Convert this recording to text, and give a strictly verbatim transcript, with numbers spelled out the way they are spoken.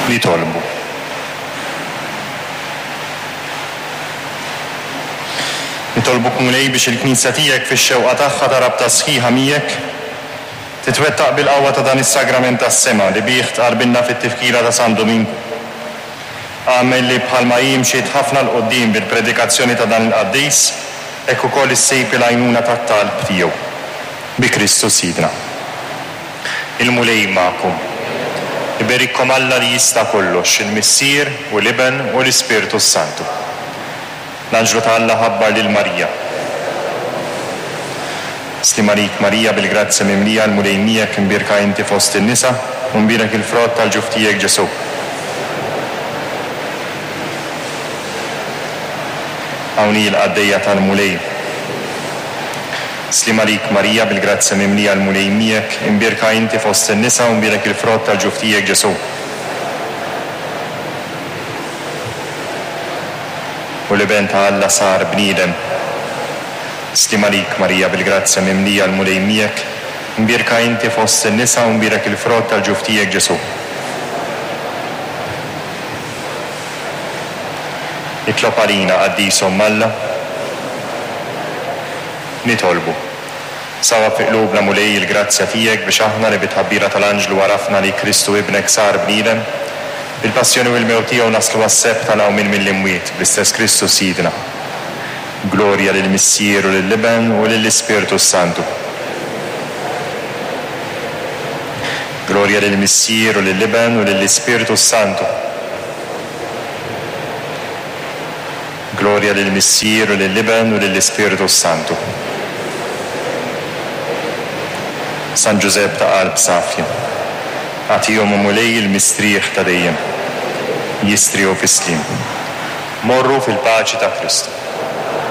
Nitolbu. Nitolbuk, Mulej, biex il-Knisja tiegħek fix-xewqa tagħha ta' rabta sħiħa miegħek titwettaq bil-qawwa ta' dan is-sagrament tas-sema li bih tqarbilna fit-tifkira ta' San Duminku. Agħmel li bħalma hi mxiet ħafna 'l quddiem bil-predikazzjoni ta' dan il-qaddis, hekk ukoll issib il-għajnuna tat-talb tiegħu. Bi Kristu Sidna. Il-Mulej magħkom. Iberikkom Alla li jista' kollox, il-Missier u l-Iben u l-Ispirtu s-Santu. L-Anġlu ta' Alla ħabbar lil Marija. Sliem għalik Marija, bil-grazzja mimlija, l-Mulej miegħek, imbierka inti fost in-nisa, u mbierek il-frott tal-ġuf tiegħek Ġesù. Hawn hi l-qaddejja tal-Mulej. Sliem għalik Marija, bil-grazzja mimlija, l-Mulej miegħek, imbierka inti fost in-nisa u mbierek il-frott tal-ġuf tiegħek Ġesù. U l-Iben ta' Alla sar bniedem. Sliem għalik Marija, bil-grazzja mimlija, l-Mulej miegħek, imbierka inti fost in-nisa u mbierek il-frott tal-ġuf tiegħek Ġesù. Itlob għalina, qaddis Omm Alla. Nitolbu. Sawab fi qlubna, Mulej, il-grazzja tiegħek biex aħna li bit-tħabbira tal-Anġlu għarafna li Kristu ibnek sar bniedem, bil-passjoni u l-mewt tiegħu naslu għas-sebħ tal-qawmien mill-imwiet, bl-istess Kristu Sidna. Glorja lill-Missier u lill-Iben u lill-Ispirtu s-Santu. Glorja lill-Missier u lill-Iben u lill-Ispirtu s-Santu. Glorja lill-Missier u lill-Iben u lill-Ispirtu s-Santu. San Ġużepp ta' qalb safja, agħtihom, o Mulej, il-mistrieħ ta' dejjem. Jistrieħu fis-sliem. Morru fil-paċi ta' Kristu.